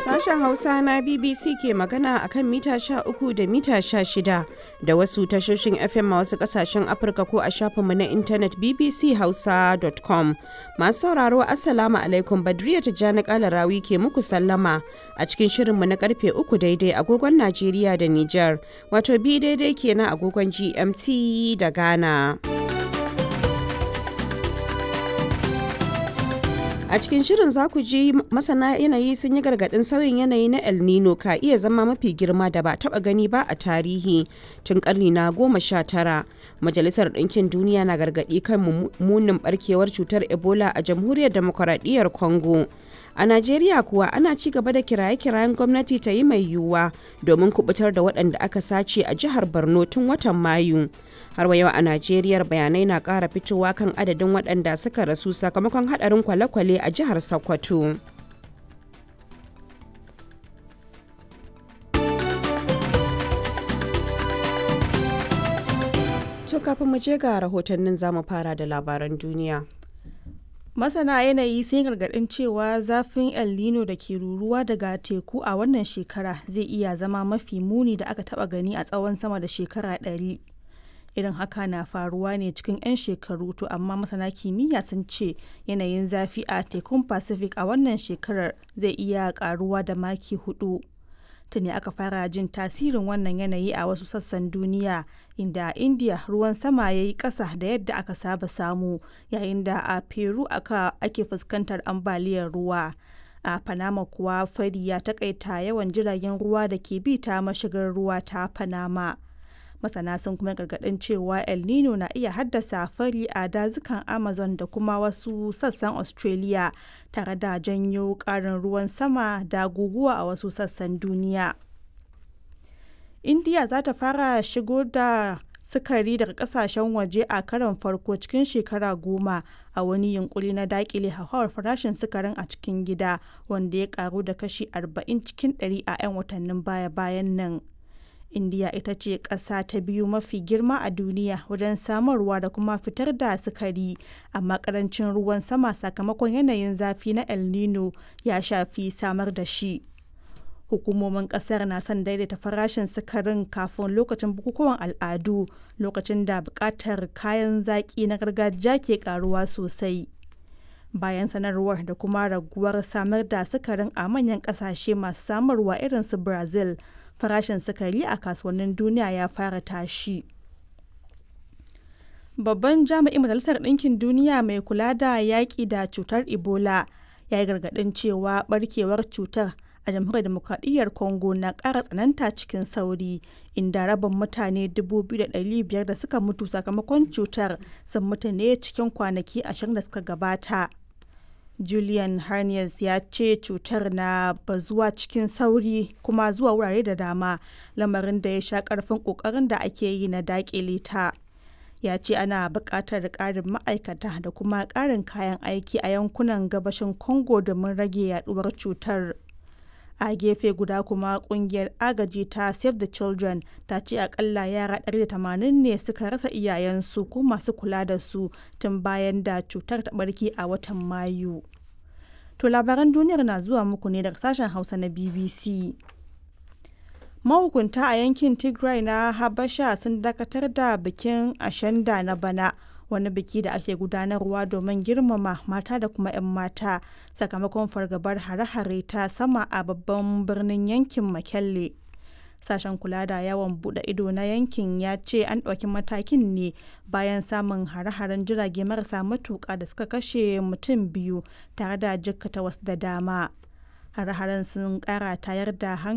Sashen Hausa na BBC ke magana a kan mita 13 da mita 16 da wasu tashoshin FM a wasu kasashen Afirka ko a shafinmu na intanet bbchausa.com. Masu sauraro Assalamu alaikum, Badriya Tijjani Kalarawi ke muku sallama a cikin shirinmu na karfe 3 daidai agogon Najeriya da Nijar, wato bi daidai kenan agogon GMT da Ghana. A cikin shirin za ku ji masana yanayi sun yi gargaɗin sauyin yanayi na El Nino ka iya zama mafi girma da ba taɓa gani ba a tarihi tun ƙarni na 19. Majalisar Ɗinkin Duniya na gargaɗi kan munin ɓarkewar cutar Ebola a Jamhuriyar Demokuraɗiyyar Congo. A Najeriya kuwa ana ci gaba da kiraye-kirayen gwamnati ta yi mai yiwuwa domin kubutar da waɗanda aka sace a jihar Borno tun watan Mayu. Har wa yau a Najeriya bayanai na ƙara fitowa kan adadin waɗanda suka rasu sakamakon haɗarin kwale-kwale a jihar Sokoto. To kafin mu je ga rahotannin, zamu fara da labaran duniya. Masana yanayi sun gargaɗin cewa zafin El Nino da ke ruruwa daga teku a wannan shekara zai iya zama mafi muni da aka taɓa gani a tsawon sama da shekara 100. Irin haka na faruwa ne cikin 'yan shekaru, to amma masana kimiyya sun ce yanayin zafi a tekun Pacific a wannan shekarar zai iya karuwa da maki 4. Tuni aka fara jin tasirin wannan yanayi a wasu sassan duniya, inda a India ruwan sama ya yi ƙasa da yadda aka saba samu, yayin da a Peru ake fuskantar ambaliyar ruwa. A Panama kuwa fari ya takaita yawan jiragen ruwa da ke bi ta mashigar ruwa ta Panama. Masana sun kuma gargaɗin cewa El Nino na iya haddasa fari a dazukan Amazon da kuma wasu sassan Australia, tare da janyo ƙarin ruwan sama da guguwa a wasu sassan duniya. India za ta fara shigo da sukari daga kasashen waje a karon farko cikin shekara 10 a wani yunkuri na dakile hauhawar farashin sukarin a cikin gida, wanda ya karu da kashi 40 cikin 100 a 'yan watannin baya-bayan nan. Indiya ita ce ƙasa ta biyu mafi girma a duniya wajen samarwa da kuma fitar da sukari, amma ƙarancin ruwan sama sakamakon yanayin zafi na El Nino ya shafi samar da shi. Hukumomin ƙasar na son daidaita farashin sukarin kafin lokacin bukukuwan al'adu, lokacin da buƙatar kayan zaƙi na gargajiya ke ƙaruwa sosai. Bayan sanarwar da kuma raguwar samar da sukarin a manyan ƙasashe masu samarwa irin su Brazil, farashin sukari a kasuwannin duniya ya fara tashi. Babban jami'in Majalisar Ɗinkin Duniya mai kula da yaƙi da cutar Ebola ya yi gargaɗin cewa barkewar cutar a Jamhuriyar Dimokuraɗiyyar Congo na ƙara tsananta cikin sauri, inda rabin mutane 2,500 da suka mutu sakamakon cutar sun mutu ne cikin kwanaki 20 da suka gabata. Julian Harness ya ce cutar na bazuwa cikin sauri kuma zuwa wurare da dama, lamarin da ya sha karfin kokarin da ake yi na dakile ta. Ya ce ana buƙatar ƙarin ma'aikata da kuma ƙarin kayan aiki a yankunan gabashin Congo domin rage yaduwar cutar. A gefe guda kuma, kungiyar agaji ta Save the Children ta ce akalla yara 180 ne suka rasa iyayensu ko masu kula da su tun bayan da cutar ta barke a watan Mayu. To labaran duniyar na zuwa muku ne daga sashen Hausa na BBC. Mahukunta a yankin Tigray na Habasha sun dakatar da bikin Ashenda na bana, wani biki da ake gudanarwa domin girmama mata da kuma 'yan mata, sakamakon fargabar hare-hare ta sama a babban birnin yankin Makelle. Sashen kula da yawon bude ido na yankin ya ce an ɗauki matakin ne bayan samun hare-haren jirage marasa matuƙa da suka kashe mutum biyu tare da jikkata wasu da dama. Hare-haren sun ƙara tayar da hankali.